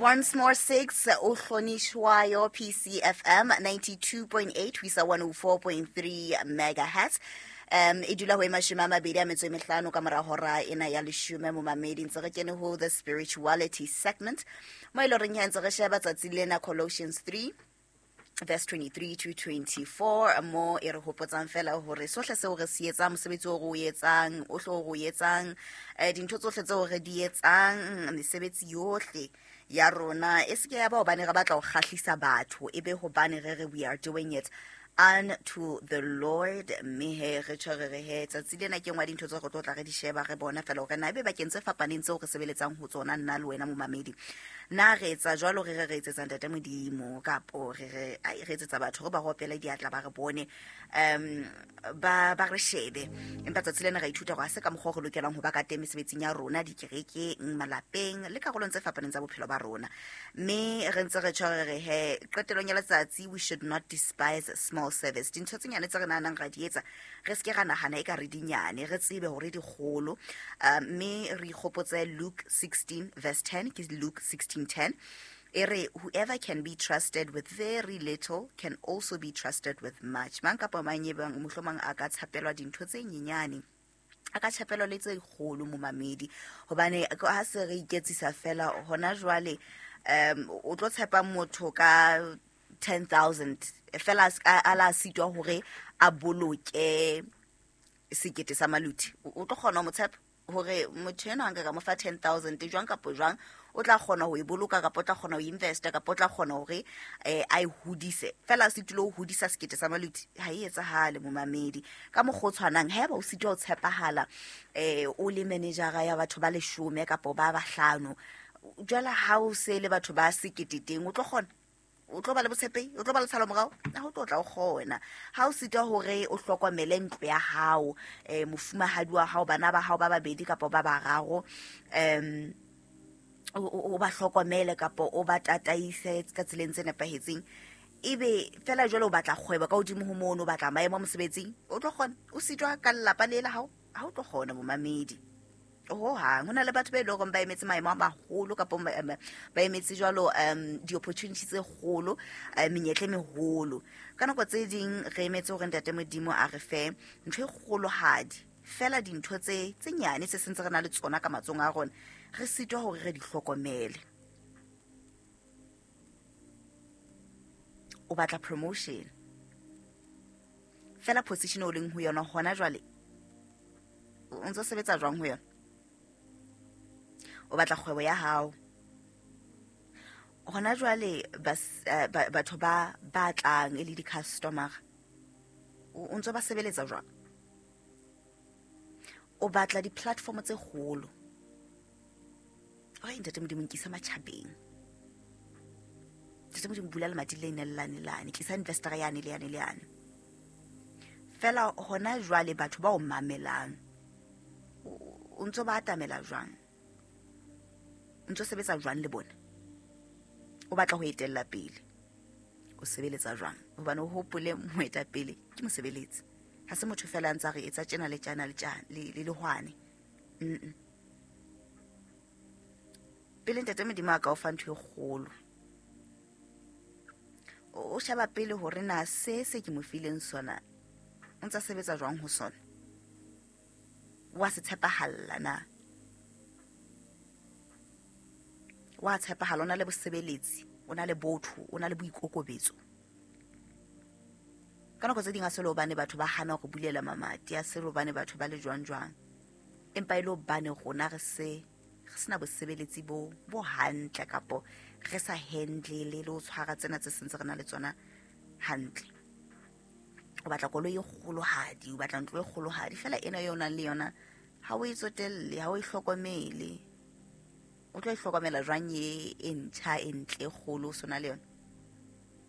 Once more 6 o hlonishwayo PCFM 92.8 ho isa 104.3 megahertz. E dula ho e 25 ka mora hora ena ya 10 momamedi. Ntse re kene ho the spirituality segment mo e le horeng ntse re sheba tsatsi lena Colossians 3 verse 23 to 24 mo e re hopotsang fela hore sohle seo re se etsang, mosebetsi o re o etsang, o hlo re o etsang, dintho tsohle tseo re di etsang, mesebetsi yohle ya rona e seke ya ba hobane re batla ho kgahlisa batho, e be hobane re re we are doing it unto the Lord. Mme he re tjho re re he tsatsi lena ke nngwe ya dintho tseo re tlo tla re di sheba, re bona fela hore na ebe bakeng tse fapaneng tseo re sebeletsang ho tsona nna le wena momamedi, na re etsa jwalo re re re etsetsa Ntate Modimo, kapo re re ai re etsetsa batho re ba ropele diatla ba re bone, ba re shebe. Empa tsatsi lena re ithuta hore ha se ka mokgwa o re lokelang ho ba ka teng mesebetsing ya rona, dikerekeng, malapeng le karolong tse fapaneng tsa bophelo ba rona. Mme re ntse re tjho re re he qetellong ya letsatsi we should not despise small service. Dintho tse nyane tse re nahanang ra di etsa, re seke ra nahana e ka re dinyane, re tsebe hore di kgolo. Mme re ikgopotse Luke 16 verse 10, ke Luke 16:10. E re whoever can be trusted with very little can also be trusted with much. Mang kapa mang e bang mohlomong a ka tshepelwa dintho tse nyenyane, a ka tshepelwa le tse kgolo momamedi. Hobane ha se re iketsisa fela hona jwale, o tlo tshepa motho ka 10,000 fela a la sitwa hore a boloke sekete sa maluti, o tlo kgona ho mo tshepa hore motho enwa nka ka mo fa 10,000 jwang kapa jwang, o tla kgona ho e boloka kapa o tla kgona ho investa kapa o tla kgona hore a e hodise. Fela a sitile ho hodisa sekete sa maluti, ha e etsahale momamedi. Ka mokgwa o tshwanang, haeba o sitwa ho tshepahala, o le managera ya batho ba 10 kapa ba 5, jwale ha o se le batho ba sekete teng, o tlo kgona, o tlo ba le botshepehi, o tlo ba le tshalo morao, ha o tlo tla o kgona. Ha o sitwa hore o hlokomele ntlo ya hao, mofumahadi wa hao, bana ba hao ba babedi kapa ba bararo, o ba hlokomele kapa o ba tataise ka tseleng tse nepahetseng, ebe fela jwale o batla kgwebo ka hodimo ho mono, o batla maemo a mosebetsing, o tlo kgona. O sitwa ka lelapa le la hao, ha o tlo kgona momamedi. Ho hang ho na le batho ba e leng hore ba emetse maemo a maholo kapa ba emetse jwalo, di-opportunity tse kgolo, menyetla e meholo. Ka nako tse ding re emetse hore Ntate Modimo a re fe ntho e kgolohadi, fela dintho tse nyane tse sentse re na le tsona ka matsohong a rona, re sitwa hore re di hlokomele. O batla promotion, fela position o leng ho yona hona jwale, o ntso sebetsa jwang ho yona? O batla kgwebo ya hao hona jwale, batho ba batlang e le di-customer, o ntso ba sebeletsa jwang? O batla di-platform tse kgolo. Ai, Ntate Modimo, nkisa matjhabeng. Ntate Modimo, bula lemati le ne le lane lane, tlisa investor yane le yane le yane. Fela hona jwale batho ba o mamelang, o ntso ba atamela jwang? O ntso sebetsa jwang le bona? O batla ho etella pele, o sebeletsa jwang? Hobane o hopole moetapele ke mosebeletsi, ha se motho fela a ntsa re etsa tjena le tjena le tjena le lehwane. Pele Ntate Modimo a ka o fa ntho e kgolo, o sheba pele hore na se ke mo fileng sona o ntsa sebetsa jwang ho sona, wa se tshepahalla na, wa tshepahala, o na le bosebeletsi, o na le botho, o na le boikokobetso. Ka nako tse ding ha se le hobane batho ba hana ho bulela mamati, ha se le hobane batho ba le jwang jwang, empa e le hobane rona re sena bosebeletsi bo hantle, kapo re sa handle le ho tshwara tsena tse sentse re na le tsona hantle. O batla koloi e kgolohadi, o batla ntlo e kgolohadi, fela ena eo o nang le yona ha o e tsotelle, ha o e hlokomele. O tlo e hlokomela jwang e ntjha, e ntle, e kgolo o sona le yona?